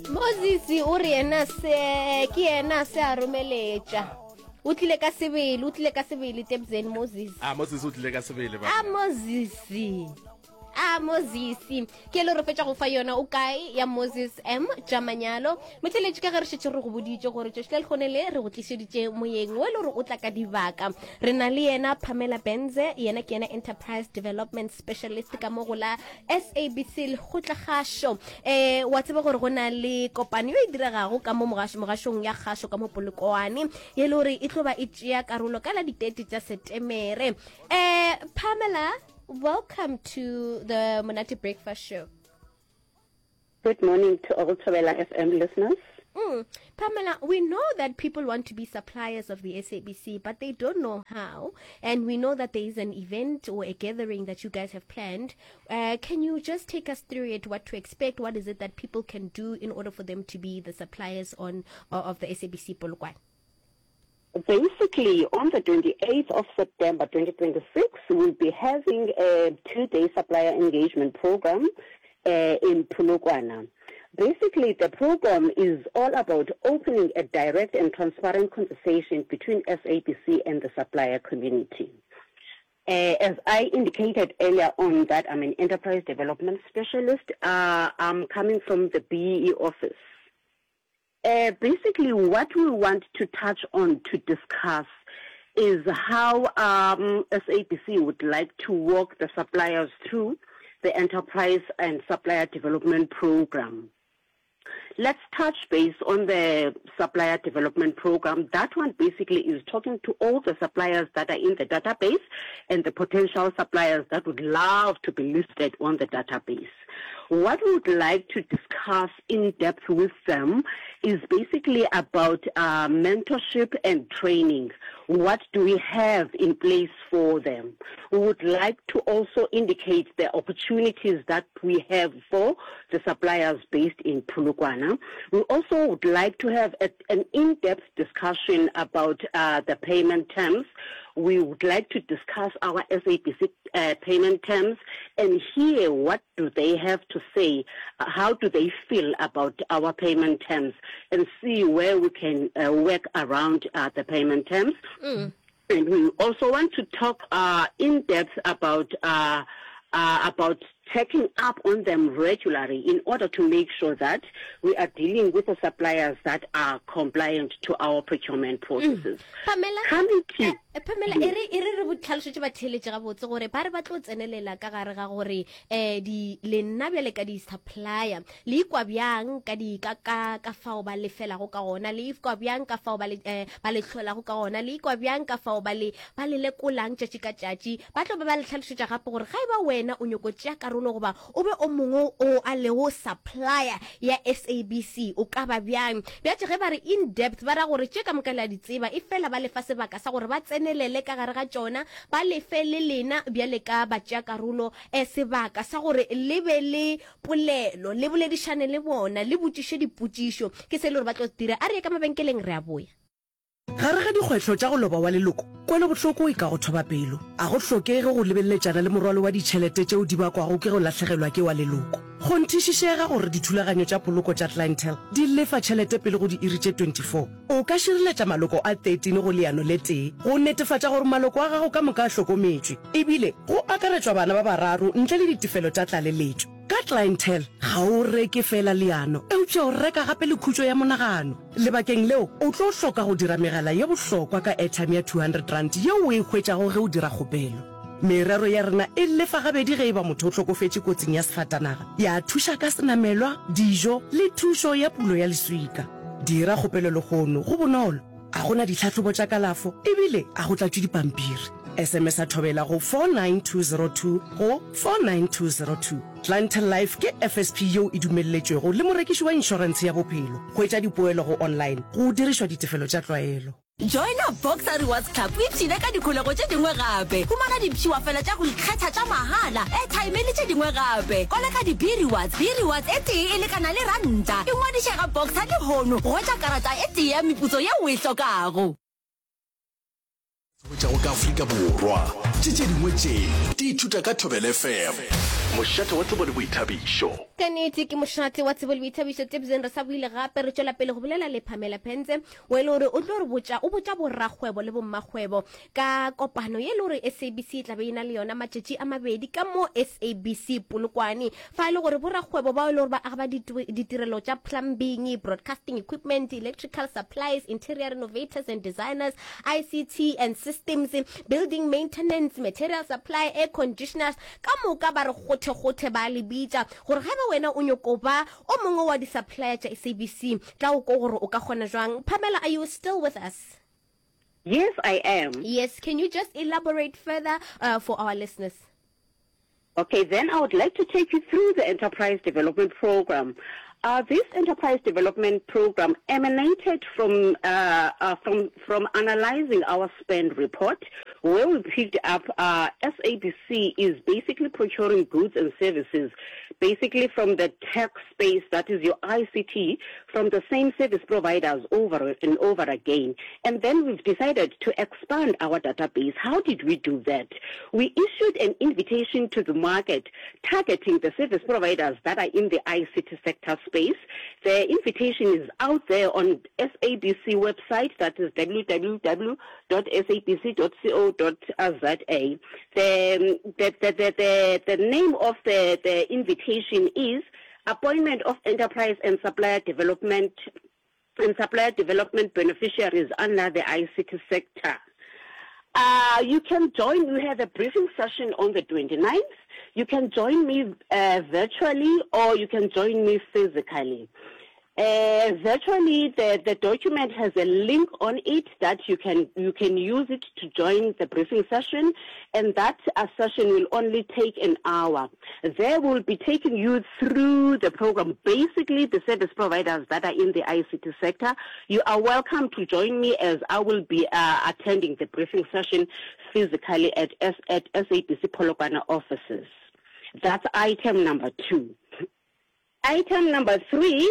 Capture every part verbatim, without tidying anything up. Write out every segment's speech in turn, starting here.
Moses o re yena se ke yena se a romeletša o tlile ka sebele o tlile ka sebele tebzen Moses a Moses o tlile ka sebele a Moses a Moses ke le re fetša go fa yona o kae ya Moses M tša manyalo motheletši ka ge re šetše re go boditše gore tšatši la lekgone le re go tlišeditše moyeng o e le gore o tla ka dibaka re na le yena Pamela Benze yena ke yena enterprise development specialist ka mo go la SABC lekgotlakgašo um wa tseba gore go na le kopano yo e diregago ka mo mogašong ya kgašo ka mo Polokwane ye le gore e tlo ba e tšea karolo ka la ditete tša Setemere um Pamela welcome to the Monate Breakfast Show Good morning to all Thobela FM listeners. Mm. Pamela, we know that people want to be suppliers of the SABC, but they don't know how. And we know that there is an event or a gathering that you guys have planned. Uh, can you just take us through it, what to expect? What is it that people can do in order for them to be the suppliers on uh, of the SABC Polokwane? Basically, on the twenty-eighth of September twenty twenty-six, we'll be having a two-day supplier engagement program uh, in Polokwane. Basically, the program is all about opening a direct and transparent conversation between S A B C and the supplier community. Uh, as I indicated earlier on that I'm an enterprise development specialist, uh, I'm coming from the B E E office. Uh, basically, what we want to touch on to discuss is how, um, S A B C would like to walk the suppliers through the enterprise and supplier development program. Let's touch base on the supplier development program. That one basically is talking to all the suppliers that are in the database and the potential suppliers that would love to be listed on the database. What we would like to discuss in depth with them is basically about, uh, mentorship and training. What do we have in place for them? We would like to also indicate the opportunities that we have for the suppliers based in Polokwane. We also would like to have a, an in-depth discussion about, uh, the payment terms. We would like to discuss our S A B C, uh, payment terms and hear what do they have to say, uh, how do they feel about our payment terms, and see where we can, uh, work around, uh, the payment terms. Mm. And we also want to talk, uh, in depth about, uh, uh, about checking up on them regularly in order to make sure that we are dealing with the suppliers that are compliant to our procurement processes. Mm. Pamela, Coming to eh, eh, Pamela, e re, e re re botlhalošetše batheeletše gabotse gore ba re ba tlo tsenelela ka gare ga gore, eh, di, le nna bjale ka di-supplier, le ikwa bjang ka di, ka, ka, ka fao ba lefelago ka gona, le ikwa bjang ka fao ba le, eh, ba le hlolago ka gona, le ikwa bjang ka fao ba le, ba le lekolang tšatši ka tšatši. Ba tlo ba ba le tlhalošetša gape gore ga e ba wena o nyoko tšea karolo goba o be o mongwe o a lego supplier ya S A B C, o ka ba bjang. Bjatše ge ba re in depth, ba ra gore tše ka moka le a di tseba, e fela ba lefa sebaka sa gore ba tsenelele ka gare ga tšona, ba lefe le lena bjale ka ba tšea karolo, eh, sebaka sa gore le be le polelo, le boledišane le bona, le botšiše dipotšišo. Ke se le gore ba tlo dira. A re ye ka mabenkeleng, re a boya. Gare ga dikgwetlho tša go loba wa leloko, kwelobohloko e ka go thoba pelo. A go hlokege go lebeleletšana le morwalo wa ditšhelete tšeo di bakwago ke go lahlegelwa ke wa leloko. Kgonthišišega gore dithulaganyo tša poloko tša Clientele di lefa tšhelete pele go diiri tše twenty-four. O ka šireletša maloko a thirteen go leano le tee go netefatša gore maloko a gago ka moka a hlokometšwe, ebile go akaretšwa bana ba bararo ntle le ditefelo tša tlaleletšo. Ka Clientele, ga o reke fela leano, eupša o reka gape le khutšo ya monagano. Lebakeng leo, o tlo hloka go dira megala ye bohlokwa ka airtime ya two hundred rand yeo o e hwetšago ge o dira kgopelo. Merero ya rena e lefa gabedi ge e ba motho o hlokofetše kotsing ya sefatanaga, ya thuša ka senamelwa, dijo le thušo ya pulo ya leswika. Dira kgopelo lehono, go bonolo, a go na ditlhahlobo tša kalafo ebile a go tlatšwe dipampiri. S M S a thobela go four nine two zero two go four nine two zero two. Clientele Life ke F S P yeo e dumelletšwego le morekiši wa inšorentshe ya bophelo. Hwetša dipoelo go online go dirišwa ditefelo tša tlwaelo. Joina Boxer Rewards Club o ipshine ka dikholego tše dingwe gape. Humana dipshiwafela tša go ikgetha tša mahala, airtime le tše dingwe gape. Koleka di-B-Rewards. B-Rewards e tee e lekana le ranta. Ingwadiše ga Boxer lehono go hwetša karata e tee ya meputso yeo o e hlokago. Hwetšago ka Afrika Borwa. Tše tše dingwe tše di ithuta ka Thobela F M. Mošate wa tsebo le boithabišo. Ka nnete ke mošate wa tsebo le boithabišo. Tebzen re sa boile gape re tšwela pele go bolela le Pamela Pentse o e le gore o tlo re botša o botša borakgwebo le bommakgwebo ka kopano ye e le gore S A B C e tla be e na le yona matšatši a mabedi ka mo S A B C Polokwane, fa e le gore borakgwebo bao e le gore ba agaba ditirelo tša plumbing, broadcasting equipment, electrical supplies, interior renovators and designers, I C T and systems, building maintenance, material supply, air conditioners, ka moka ba re kgothekgothe ba le bitša gore ga ba wena o nyoko ba o mongwe wa di-supplier tša S A B C, tla o ko gore o ka kgona jwang. Pamela, are you still with us? Yes, I am. Yes, can you just elaborate further uh, for our listeners? Okay, then I would like to take you through the Enterprise Development Program. Uh, this Enterprise Development Program emanated from, uh, uh, from, from analyzing our spend report, where we picked up uh, S A B C is basically procuring goods and services, basically from the tech space, that is your I C T, from the same service providers over and over again. And then we've decided to expand our database. How did we do that? We issued an invitation to the market targeting the service providers that are in the I C T sector space. The invitation is out there on S A B C website, that is w w w dot S A B C dot co dot za. The, the, the, the, the, the name of the, the invitation is Appointment of Enterprise and Supplier Development and Supplier Development Beneficiaries under the I C T sector. Uh, you can join, we have a briefing session on the twenty-ninth. You can join me uh, virtually or you can join me physically. Uh, virtually, the, the document has a link on it that you can you can use it to join the briefing session, and that uh, session will only take an hour. They will be taking you through the program, basically the service providers that are in the I C T sector. You are welcome to join me as I will be uh, attending the briefing session physically at, S- at S A B C Polokwane offices. That's item number two. Item number three,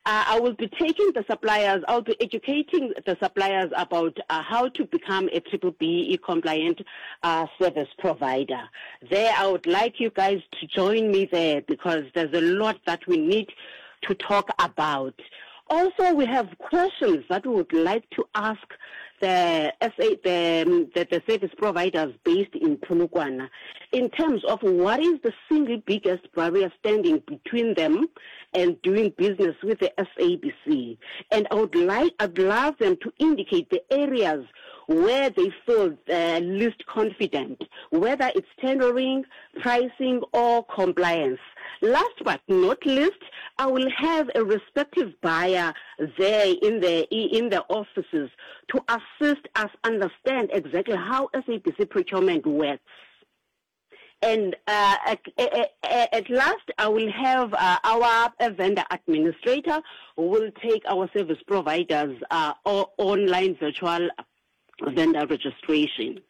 uh, I will be taking the suppliers, I'll be educating the suppliers about uh, how to become a triple B E compliant uh, service provider. There, I would like you guys to join me there because there's a lot that we need to talk about. Also, we have questions that we would like to ask the S A, the, um, the, the service providers based in Polokwane in terms of what is the single biggest barrier standing between them and doing business with the S A B C. And I would like, I'd love them to indicate the areas where they feel uh, least confident, whether it's tendering, pricing, or compliance. Last but not least, I will have a respective buyer there in the in the offices to assist us understand exactly how S A B C procurement works. And uh, at, at, at last, I will have uh, our vendor administrator who will take our service providers uh, online virtual vendor registration.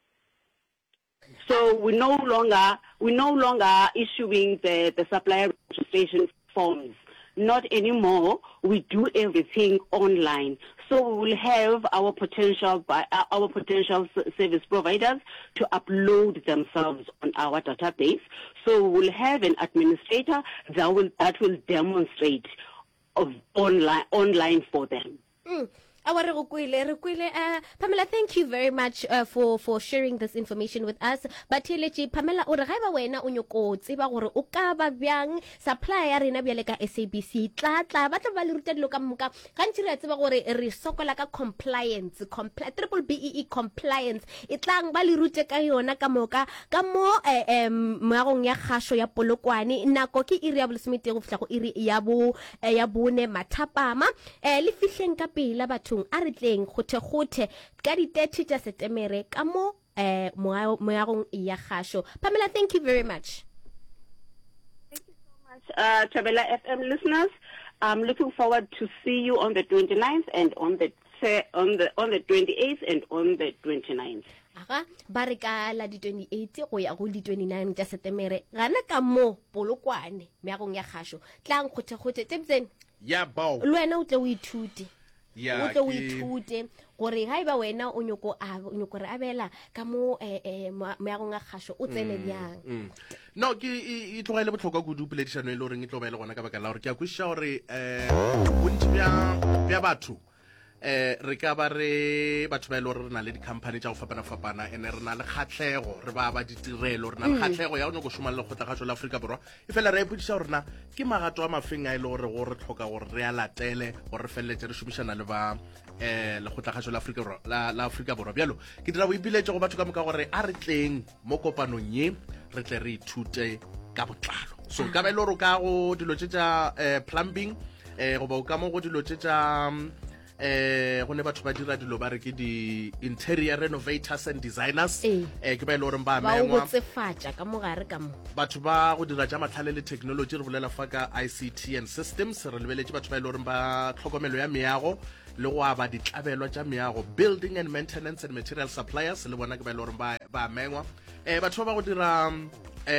So we no longer we no longer issuing the, the supplier registration forms. Not anymore. We do everything online. So we will have our potential by, uh, our potential service providers to upload themselves on our database. So we will have an administrator that will that will demonstrate of online online for them. Mm. Awa, re go kwele, re kwele. uh, Pamela, thank you very much uh, for for sharing this information with us. Batheeletši, Pamela o re ga e ba wena o nyoko tseba gore o ka ba bjang supply ya rena bjale ka S A B C, tla tla ba tla ba le ruta dilo ka moka. Gantši re a tseba gore re sokola ka compliance, compli triple B E E compliance. E tlang ba le rute ka yona ka moka ka mo eh, eh, moagong ya kgašo ya Polokwane. Nako ke iri ya bolesometee go fihla go iri ya bo eh, ya bone mathapama. eh, le fihleng ka pela bathong, a re tleng kgothekgothe ka di-thirty tša Setemere ka mo eh, moa- moagong ya kgašo. Pamela, thank you very much. Uh, Thobela F M listeners, I'm looking forward to see you on the twenty-ninth and on the on the on the twenty-eighth and on the twenty-ninth. Aga ba re ka la di twenty-eight go ya go di twenty-nine tša Setemere gana ka mo Polokwane meagong ya kgašo. Tlang kgothekgothe. Tebsen. Ya bao. Le wena o tle o ithute. Ya, o tle o ke- ithute gore ga e ba wena o nyoko a- o nyoko re abela ka mo eh, eh, moa- moagong a kgašo o tsene bjang. Mm. No, ke e e tloga e le bohlokwa kudu poledišano e le goreng e tlo ba e le gona, ka baka la gore ke a kwešiša gore um bontši bja bja batho, eh re ka ba re batho ba e le gore re na le di-company tša go fapana-fapana, ene re na le kgatlhego, re ba ba ditirelo, re na le kgatlhego ya go nyako šoma le Lekgotlakgašo la Afrika Borwa. E fela re a ipotšiša gore na ke magato a mafeng a e le gore go re tlhoka gore re a latele gore re feleletše re šomišana le ba um Lekgotlakgašo la Afrika Borwa la, la Afrika Borwa. Bjalo ke dira boipiletšo go batho ka moka gore a re tleng mo kopanong ye, re tle re ithute ka botlalo. So ka ba e le gore o ka go dilo tše tša um plumbing, um goba o ka mo go dilo tše tša eh go ne batho ba dira dilo ba re ke di-interior renovators and designers, Ee. eh ke ba e le goreng ba Ba o mengwa. botsefatša ka mogare ka mo. Batho ba go dira tša matlhale le technology, re bolela fa ka I C T and systems, re lebeletše batho ba e le goreng ba tlhokomelo ya meago le go aba ditlabelwa tša meago, building and maintenance and material suppliers, le bona ke ba e le goreng ba ba mengwa. um batho ba ba go dira um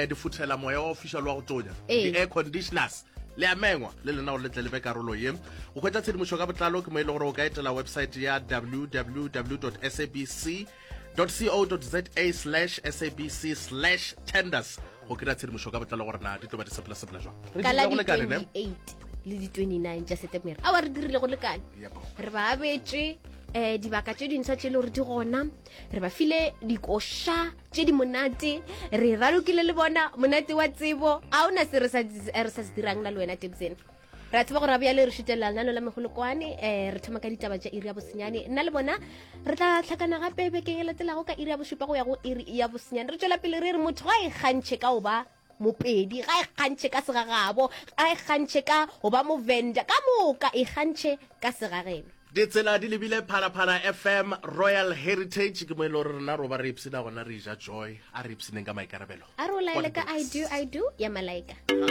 difuthela moya wa go fiša le wa go tonya, Ee. di-air conditioners, le a mengwa le lena gore le tle le be karolo ye. Go hwetša tshedimošo ka botlalo ke mo e le gore o ka etela website ya W W W S A B C co za slash S A B C slash tenders go kry-a tshedimošo ka botlalo gore na di tlo ba di sepela-sepela jwang. Re Ka la dirile go lekane, ne? di twenty-eight le di twenty-nine tša Setemere awa, re dirile go lekane. Yep. Re ba abetše um dibaka tše dintšha tše e le gore di gona, re ba file dikoša tše di monate, re ralokile le bona monate wa tsebo. A ona se re sa re sa se dirang na le wena, Tebsene. Re a tseba gore bjale re šutelela lenano la megolokwane, um re thoma ka ditaba tša iri ya bosenyane. Nna le bona re tla tlhakana gape bekeng e latelago ka iri ya bošupa go ya go iri ya bosenyane. Re tšwela pele re re motho ga e kgantšhe ka go ba Mopedi, ga e kgantšhe ka segagabo, ga e kgantšhe ka go ba Movenda, ka moka e kgantšhe ka segageno. Ditsela di lebile Phalaphala F M, Royal Heritage, ke mo e le gore rena ro ba re ipsina gona, re ja joy. A re ipsineng ka maikarabelo. A re o laele ka "I Do I Do" ya Malaika.